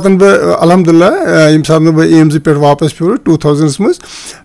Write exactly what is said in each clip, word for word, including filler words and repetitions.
پَتہٕ بہٕ، الحمدللہ، آ، ییٚمہِ ساتہٕ نہٕ بہٕ ایمزٕ پٮ۪ٹھ واپس پھیوٗرُس ٹوٗ تھاوزنڈس منٛز،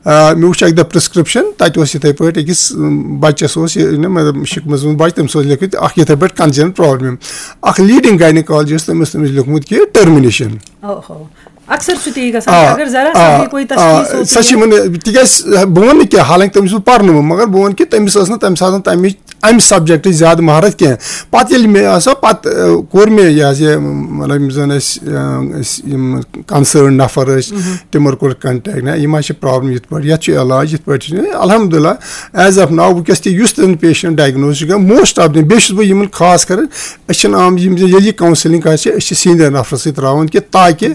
آ، مےٚ وٕچھ اَکہِ دۄہ پرسکرپشن، تَتہِ اوس یِتھَے پٲٹھۍ أکِس، اۭم، بَچَس اوس یہِ، یہِ نہٕ، مطلب، شِکمَس منٛز بَچہٕ، تٔمِس اوس لیٚکھِتھ اَکھ یِتھَے پٲٹھۍ کَنجَن پرابلم۔ اَکھ لیٖڈِنٛگ گاینِکالجسٹ، تٔمِس، تٔمِس لیوٚکھمُت کہِ ٹٔرمِنیشن۔ اوہو۔ اکثر چھُ تی گژھان، آ، اگر ذرا سا آ، بھی کوئی آ، تشخیص ہوتی سۄ چھِ ہے۔ یِمن، تِکیٛازِ بہٕ وَنہٕ نہٕ کینٛہہ، حالانکہِ تٔمِس اوس پَرنومُت، مگر بہٕ وَنہٕ کہِ تٔمِس ٲس نہٕ تَمہِ ساتہٕ تَمِچ، اَمہِ سبجیکٹٕچ زیادٕ مہارت کینٛہہ۔ پَتہٕ ییٚلہِ مےٚ ہسا پَتہٕ، آ، کوٚر مےٚ یہِ حظ یہِ، مطلب، یِم زَن اَسہِ، آ، أسۍ یِم کَنسٲرن نفر ٲسۍ، تِمن کوٚر کَنٹیکٹ، نہ، یِم حظ چھِ پرابلم یِتھ پٲٹھۍ، یَتھ چھُ علاج یِتھ پٲٹھۍ چھُ۔ الحمدللہ، ایز آف ناو وٕنکیٚس تہِ یُس تہِ پیشنٹ ڈایگنوز چھُ گژھان، موسٹ آف دِم، بیٚیہِ چھُس بہٕ یِمن خاص کَران، أسۍ چھِنہٕ عام، یِم ییٚلہِ یہِ کاونسلنگ آسہِ، أسۍ چھِ سیٖنیر نفرَس سۭتۍ ترٛاوان کہِ تاکہِ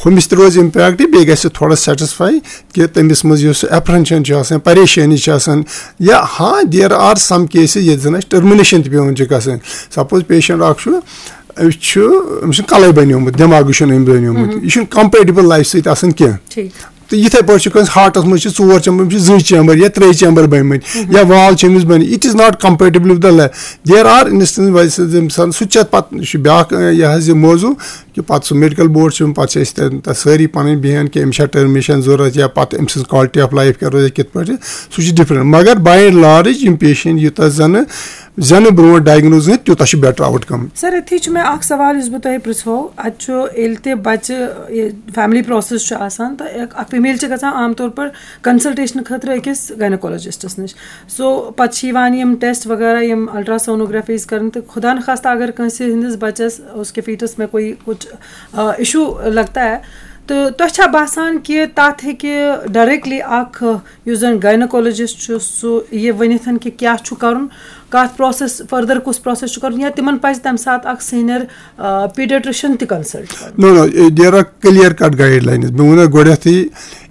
ہُمِس تہِ روزِ اِمپیکٹ، بیٚیہِ گژھِ تھوڑا سیٹسفاے کہِ تٔمِس منٛز یُس ایپریہنشن چھُ آسان، پریشٲنی چھِ آسان، یا ہاں، there are some cases ییٚتہِ زَن اَسہِ ٹٔرمِنیشن تہِ پٮ۪وان چھِ گژھٕنۍ۔ سپوز پیشنٹ اکھ چھُ، أمِس چھُ، أمِس چھُنہٕ کَلَے بَنیومُت، دٮ۪ماغٕے چھُنہٕ أمۍ بَنیومُت، یہِ چھُنہٕ کمپیٹیبل لایف سۭتۍ آسان کینٛہہ۔ ٹھیٖک۔ تہٕ یِتھَے پٲٹھۍ چھُ کٲنٛسہِ ہارٹَس منٛز چھِ ژور چیمبر، أمِس چھِ زٕ چیمبر بٔنۍ مٕتۍ، یا وال چھِ أمِس بٔنۍ، it is not compatible with the life۔ There are instances، ویسے ییٚمہِ ساتہٕ سُہ تہِ چھِ اَتھ پَتہٕ، یہِ چھُ بیٛاکھ، یہِ حظ یہِ موضوع، کہِ پَتہٕ سُہ میڈیکل بورڈ چھُ، پَتہٕ چھِ أسۍ تَتہِ، تَتہِ سٲری پَنٕنۍ بیٚہن کہِ أمِس چھا ٹٔرمِنیشن ضوٚرَتھ، یا پَتہٕ أمۍ سٕنٛز quality of life کیٛاہ روزِ، کِتھ پٲٹھۍ، سُہ چھُ ڈِفرنٹ۔ مگر by and large یِم پیشنٹ یوٗتاہ زَنہٕ، زَنہٕ برونٛٹھ ڈایگنوز گٔژھِتھ، تیوٗتاہ چھُ بیٹر آوُٹ کم۔ سر، أتھی چھُ مےٚ اکھ سوال یُس بہٕ تۄہہِ پرٛژھو۔ اَتہِ چھُ، ییٚلہِ تہِ بَچہٕ، یہِ فیملی پرٛاسٮ۪س چھُ آسان، تہٕ اکھ، اکھ فیٖمیل چھِ گژھان عام طور پر کنسلٹیشن خٲطرٕ أکِس گاینوکالوجسٹس نِش۔ سو پتہٕ چھِ یِوان یِم ٹیسٹ وغیرہ، یِم الٹراسونوگرافیز کرنہٕ، تہٕ خدا نخواستہ اگر کٲنٛسہِ ہٕنٛدِس بچس، اس کے فیٹس میں کوئی کچھ، آ، ایشو لگتا ہے، تہٕ تۄہہِ چھا باسان کہِ تتھ ہیٚکہِ ڈائریکٹلی اکھ، یُس زن گاینوکالوجسٹ چھُ، سُہ یہِ ؤنِتھ کہِ کیٛاہ چھُ کرُن، کتھ پروسیس، فردر کُس پروسیس چھُ کرُن، یا تِمن پزِ تمہِ ساتہٕ اکھ سینئر، آ، پیڈیٹرشن تہِ کنسلٹ کرُن؟ No, no, there are clear cut guidelines۔ مےٚ ووٚن گۄڈنیتھٕے،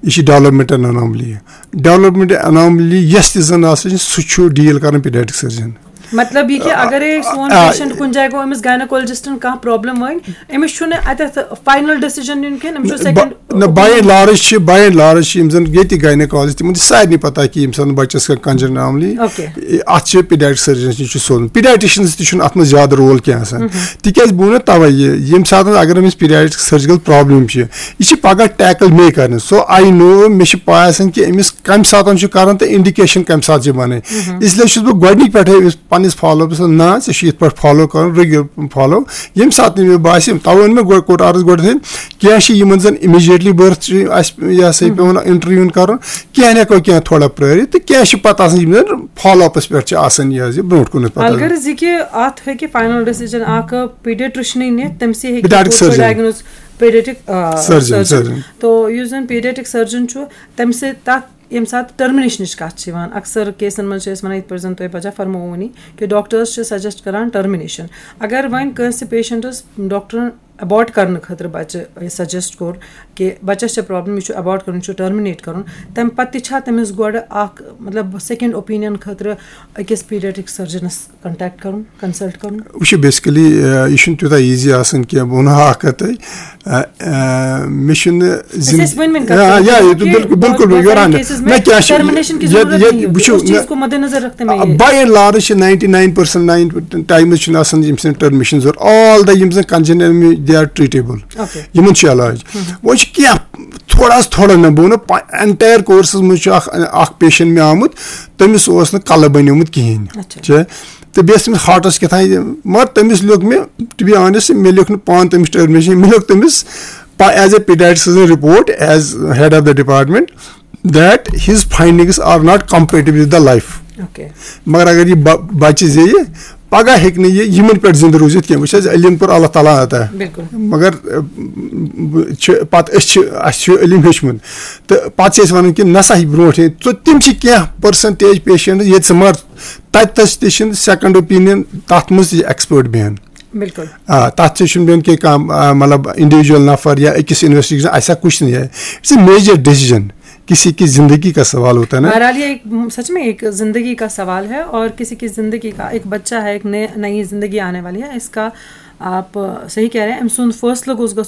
یہِ چھِ ڈیولپمنٹل اناملی۔ ڈیولپمنٹ اناملی یۄس تہِ زن آسان چھِ، سُہ چھُ ڈیل کران پیڈیٹرک سرجن۔ مطلب یہِ کہِ اگرے سون آ، پیشنٹ کُنہِ جایہِ گوٚو، أمِس گاینوکالوجسٹن کانٛہہ پرابلم وۄنۍ، أمِس چھُنہٕ اتٮ۪تھ فاینل ڈیسیجن نیُن کینٛہہ، أمِس چھُ سیکنڈ۔ نہ، باے اینڈ لارج چھِ، باے اینڈ لارج چھِ یِم زن ییٚتہِ گاینوکالجسٹ، تِمن چھِ سارنٕے پتہ کہِ ییٚمہِ ساتہٕ بچس کانٛہہ کنجن اناملی، اوکے۔ اتھ چھِ پیڈیٹرک سرجنس نِش چھُ سوزُن۔ پیڈیٹرشنس تہِ چھُنہٕ اتھ منٛز زیادٕ رول کینٛہہ آسان۔ تِکیازِ بہٕ وَنو تَوَے یہِ، ییٚمہِ ساتہٕ اگر أمِس پیڈیاٹرک سٔرجِکَل پرابلم چھِ، یہِ چھِ پَگاہ ٹیکل مے کَرٕنۍ۔ So I know، مےٚ چھِ پَے آسان کہِ أمِس کَمہِ ساتہٕ چھُ کَرُن تہٕ انڈیکیشن کَمہِ ساتہٕ چھِ بَنٕنۍ۔ اس لیے چھُس بہٕ گۄڈٕنِکۍ پٮ۪ٹھَے أمِس پَنٕنِس فالو اَپَس، نہ، ژےٚ چھُ یِتھ پٲٹھۍ فالو کَرُن، regular follow۔ ییٚمہِ ساتہٕ نہٕ مےٚ باسہِ، تَوَے ووٚن مےٚ گۄڈٕ، کوٚر عرض گۄڈٕنٮ۪تھٕے، کینٛہہ چھِ یِمَن زَن immediately birth چھِ اَسہِ، یہِ ہسا یہِ پٮ۪وان انٹرویوٗ کَرُن، کینٛہہ ہٮ۪کو کینٛہہ تھوڑا پرٛٲرِتھ تہٕ کینٛہہ چھِ پَتہٕ آسان یِم زَن فالو اَپَس پٮ۪ٹھ چھِ آسان یہِ حظ یہِ برونٛٹھ کُنَتھ پَتہٕ۔ الغرض یہِ کہِ اَتھ ہیٚکہِ فاینل ڈیسیجن اکھ پیڈیٹرشنٕے نِتھ، تٔمسٕے ہیٚکہِ پیڈیاٹرک سرجن۔ ڈایگنوز، پیڈیٹرک، آ، سرجن، سرجن۔ سرجن۔ تو یُس زن پیڈیٹرک سرجن چھُ، تٔمۍ سۭتۍ تَتھ ییٚمہِ ساتہٕ ٹرمنیشنٕچ کَتھ چھِ یِوان، اکثر کیسن منٛز چھِ أسۍ وَنان، یِتھ پٲٹھۍ زن تۄہہِ پَجا فرمووُنی، کہِ ڈاکٹرس چھِ سجیسٹ کران ٹرمنیشن۔ اگر وۄنۍ کٲنٛسہِ پیشنٹس ڈاکٹرن ابارٹ کرنہٕ خٲطرٕ بچہِ یہِ سجیسٹ کوٚر کہِ بچس چھےٚ پرابلم، یہِ چھُ ابارٹ کرُن، یہِ چھُ ٹرمنیٹ کرُن، تمہِ پتہٕ تہِ چھا تٔمِس گۄڈٕ اکھ، مطلب، سیکنڈ اوپینین خٲطرٕ أکِس پیڈیٹرک سرجنس کنٹیکٹ کرُن، کنسلٹ کرُن؟ وٕچھِو، بیسکلی، آ، یہِ چھُنہٕ تیوٗتاہ ایٖزی آسان کینٛہہ۔ بہٕ وَنہٕ ہا اکھ کَتھ تۄہہِ، آ، آ، مےٚ چھُنہٕ أسۍ زِن-، ٲسۍ وۄنۍ وۄنۍ آ، کَتھ یا، کران یہِ تہٕ کہِ بِلکُل، بِلکُل، بہت، بہٕ یورٕ سارے اَنہٕ۔ کیسز نہ، میں کیٛاہ چھِ، ٹرمنیشن کی ییٚتہِ، ضروٗرت ییٚتہِ، نہیں ہوتی۔ وٕچھِو، اس چیٖز نہ، کو مدِ نظر رکھتے میں آ، یہِ۔ باے اینڈ لارٕج چھِ ninety nine percent nine times چھُنہٕ آسان ییٚمہِ سۭتۍ ٹرمنیشن ضروٗرت۔ All the یِم زَن کنجن، they are treatable۔ اوکے۔ یِمن چھُ علاج۔ وۄنۍ چھُ کینٛہہ تھوڑا حظ تھوڑا نہ، بہٕ وَنہٕ پا-، اینٹایَر کورسَس منٛز چھُ اَکھ، اَکھ پیشَنٹ مےٚ آمُت، تٔمِس اوس نہٕ کَلہٕ بَنیومُت کِہیٖنۍ۔ اچھا۔ چھِ، تہٕ بیٚیہِ ٲس تٔمِس ہارٹَس کیٛاہ تام، مگر تٔمِس لیوٚکھ مےٚ، to be honest، مےٚ لیوٚکھ نہٕ پانہٕ تٔمِس ٹٔرمِنیشَن، مےٚ لیوٚکھ تٔمِس پا-، as a pediatrician report, as head of the department, that his findings are not compatible with the life۔ Okay. مگر اگر یہِ بَ-، بَچہِ زیٚیہِ، پگاہ ہیٚکہِ نہٕ یہِ یِمن پٮ۪ٹھ زِندٕ روٗزِتھ کینٛہہ۔ وٕچھ حظ، علم کوٚر اللہ تعالیٰ عطا۔ بِلکُل۔ مگر، اَ، چھِ پتہٕ أسۍ چھِ، اَسہِ چھُ علم ہیوٚچھمُت۔ تہٕ پتہٕ چھِ أسۍ وَنان کہِ نسا یہِ برونٛٹھ یہِ۔ تہٕ تِم چھِ کینٛہہ percentage patient ییٚتہِ ژٕ مر، تَتہِ تَس تہِ چھِنہٕ second opinion تَتھ منٛز تہِ expert بیٚہن۔ بِلکُل۔ آ، تَتھ تہِ چھُنہٕ بیٚہن کینٛہہ کانٛہہ، آ، مطلب individual نفر یا أکِس investigation، ایسا کچھ نہیں ہے۔ It's a major decision۔ کسی کی زندگی کا سوال ہوتا ہے نا۔ بہرحال، یہ ایک، سچ میں ایک زندگی کا سوال ہے، اور کسی کی زندگی کا، ایک بچہ ہے، ایک نئے، نئی زندگی آنے والی ہے، اس کا آپ صحیح کہہ رہے ہیں، أمۍ سُنٛد فٲصلہٕ گوٚژھ گژھُن